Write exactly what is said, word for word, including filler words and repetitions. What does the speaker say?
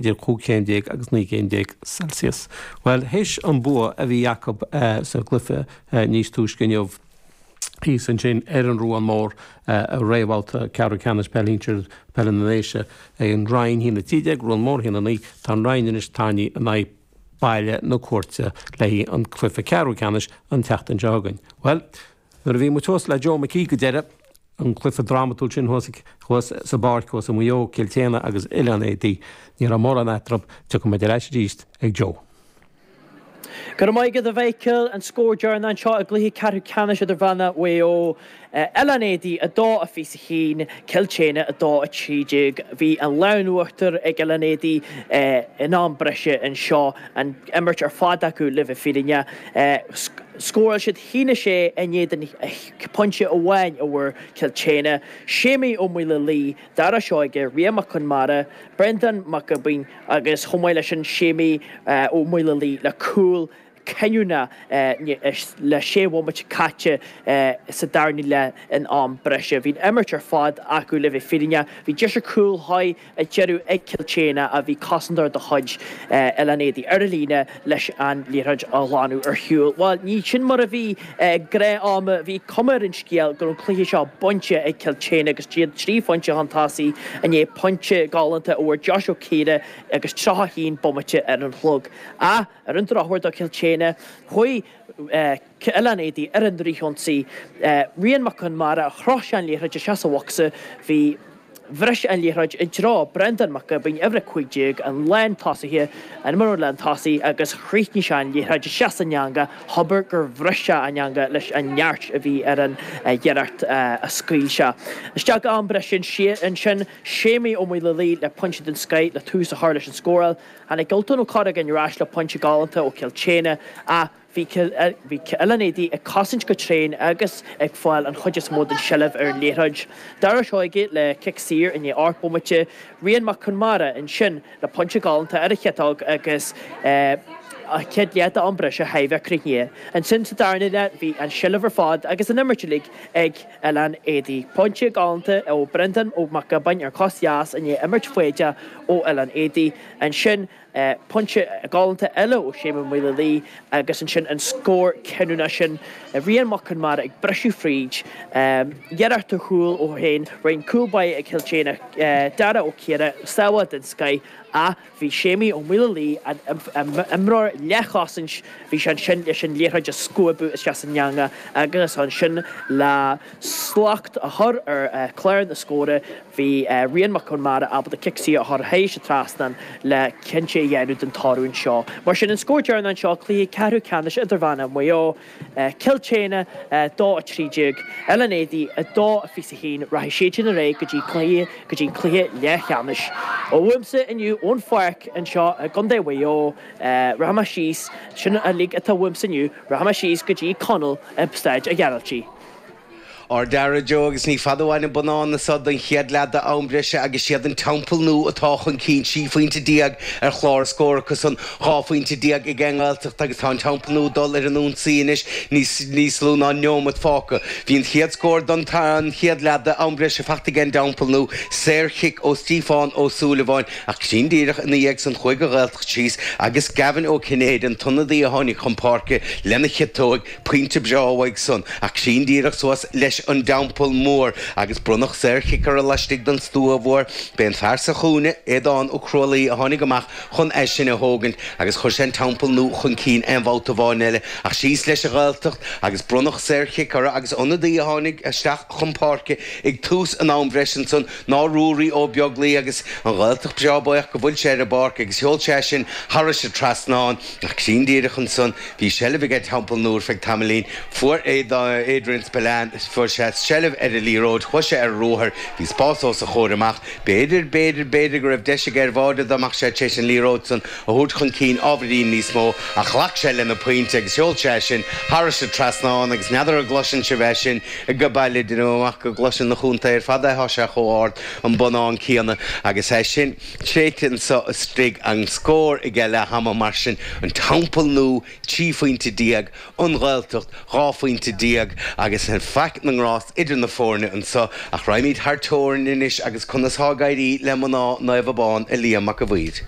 idir cúig chéim déag agus naoi gcéim déag Celsius. Well, théis an bua a bhí acu sa gcluiche níos túisce inniu thíos ansin ar an Ruán Mór i réamhbhabhta ceathrú ceannais peil shinsir peile na nDéise an Rinn a haon a trí déag, Ruán Mór a haon a naoi, tá an Rinn anois tarraingthe in aghaidh Baile na Cúirte le haghaidh an cluiche ceathrú ceannais an tseachtain seo chugainn. Well, nuair a bhí muid thuas le Joe McKee go deireadh an cluiche drámatúil sin thuas thuas sa bpáirc thuas i Maigh Eo, Cill tSéadhna agus Oileán Éadaí, ní raibh mórán eatarthu, tiocfaidh muid ar ais arís ag Joe. Go raibh maith agat a Mhichael, an scór deireanach anseo i gcluiche ceathrú ceannais idirmheánach Mhaigh Eo. Oileán Éadaí a dó a fiche a haon, Cill tSéadhna a dó a trí déag. Bhí an lámh in uachtar ag Oileán Éadaí in am breise anseo, an imirt ar fad acu le bheith fírinneach. Scóráil siad haon a sé in éadan pointe amháin a bhfuair Cill tSéadhna. Séimí Ó Maoilealaí, Dara Seoige, Rian Mac Conmara, Breandán Mac Giobáin agus chomh maith leis sin Séimí Ó Maoilealaí le cúl cinniúnach le sé bhomaite caite sa darna leath in am breise. Bhí an imirt ar fad acu le bheith fírinneach. Bhí deis ar chúl mhaith ag deireadh ag Cill tSéadhna ach bhí cosantóir de chuid Oileán Éadaí ar an líne leis an liathróid a ghlanadh ar shiúl. Bhuel, ní sin mar a bhí gnáth ama. Bhí cuma ar an scéal go raibh an cluiche seo bainte ag Cill tSéadhna agus iad trí phointe chun tosaigh i ndiaidh pointe galánta a fuair Josh Ó Ciardha agus tríocha a haon bomaite ar an chlog. Ach ar an drochuair do Chill tSéadhna, chuaigh Oileán Éadaí ar an fhrithionsaí. Rian Mac Conmara, chroith sé an liathróid isteach sa bhocsa. Bhí. Bhris an liathróid i dtreo Breandán Mac Giobáin, uimhir a cúig déag, an lántosaithe, an imreoir lántosaigh, agus chríochnaigh sé an liathróid isteach san eangach, abair gur bhris sé an eangach leis an neart a bhí ar an iarracht a scaoil sé. Isteach go am breise ansin, Séimí Ó Maoilealaí le pointe den scoith le tús a chur leis an scóráil. Tháinig Ultan Ó Corragáin ar ais le pointe galánta ó Chill tSéadhna ach Bhí Oileán Éadaí ag cosaint go tréan agus ag fáil an chuid is mó den seilbh ar an liathróid. Dara Seoige le cic saor i ndiaidh ocht bomaite, Rian Mac Conmara ansin le pointe galánta ar a chiotóg agus an chéad leath d'am breise thar a bheith críochnaithe. Ansin sa darna leath bhí an seilbh ar fad agus an imirt uilig ag Oileán Éadaí. Pointe galánta ó Brendan Ó Mac Giobáin ar chos dheas i ndiaidh imirt foighdeach ó Oileán Éadaí. Ansin. Pointe galánta eile ó Shéamus Ó Maoilealaí agus ansin an scór cinniúnach sin, Rian Mac Conmara ag briseadh fríd, iarracht ar chúl ó shin, rinne cúl báire ag Cill tSéadhna, Dara Ó Ciardha, sábháil den scoith ach bhí Séimí Ó Maoilealaí, an imreoir leathchosaint, bhí sé ansin leis an liathróid a scuabadh isteach san eangach agus ansin le slacht a chur ar chlár na scóranna. Bhí Rian Mac Conmara ábalta cic saor a chur thairis an trasnán le cinnte a dhéanamh den toradh anseo. Mar sin, an scór deireanach anseo, cluiche ceathrú ceannais idirmheánach Mhaigh Eo, Cill tSéadhna a dó a trí déag, Oileán Éadaí a dó a fiche a haon, rachaidh siad sin ar aghaidh go dtí cluiche go dtí an cluiche leathcheannais. Ó uaimse inniu ón pháirc anseo i gContae Mhaigh Eo, rachaidh mé síos, sin uilig atá uaimse inniu, rachaidh mé síos go dtí Conall i Staid a' Ghearaltaigh. Ard-fhear Joe agus ní fada uainn an bonnán anso don chéad leath d'am breise agus siad an Teampall Nua atá chun cinn, trí phointe déag ar chlár na scór acusan, dhá phointe déag ag an nGaeltacht agus tá an Teampall Nua ag dul ar an ionsaí anois níos lú ná neomat fágtha. Bhí an chéad scór don chéad leath d'am breise faighte ag an dTeampall Nua, saorchic ó Stíofán Ó Súilleabháin ach cruinn díreach ina dhiaidh san chuaigh an Ghaeltacht síos agus Gavin Ó Cinnéide, an t-ionadaí a tháinig chun páirce lena chiotóig, Pointe breá uaidh san, ach cruinn díreach suas leis an dTeampall Mór agus bronnadh saorchic orthu laistigh den stua mhór. B'é an fear sa chúinne, Aodán Ó Crualaoi, a tháinig amach chun é sin a thógaint agus chuir sé an Teampall Nua chun cinn aon bhabhta amháin eile. Ach síos leis an Ghaeltacht agus bronnadh saorchic orthu agus ionadaí a tháinig isteach chun páirce ag tús an am bhreise ansan ná Ruairí Ó Beaglaoi agus an Ghaeltacht breá buíoch go bhfuil sé ar an bpáirc agus sheol sé é sin thairis an trasnán. Ach cruinn díreach ansan, bhí seilbh ag an Teampall Nua ar feadh tamaillín. Fuair Adrian Spillane, fuair sé seilbh ar an liathróid, chuaigh sé ar ruathar, bhí spás os a chomhair amach. B'fhéidir, b'fhéidir, b'fhéidir go raibh deis aige ar bháide dá mbeadh sé tar éis an liathróid san a thabhairt chun cinn ábhairín níos mó, ach ghlac sé lena phointe agus sheol sé é sin thairis an trasnán agus n'fheadar an gcloiseann sibh é sin ag baile, déanaim amach go gcloiseann na chontae ar fad é, thá sé chomh ard an bonnán céanna agus é sin. Tréite anso istigh an scór ag leath ama mar sin, an Teampall Nua trí phointe déag, an Ghaeltacht dhá phointe déag agus faic na ngrást idir na foirne anso. Ach raghaimid thar teorainn anois agus conas thá ag éirí le mná Naomh Abán, a Liam Mac a' Mhaoir?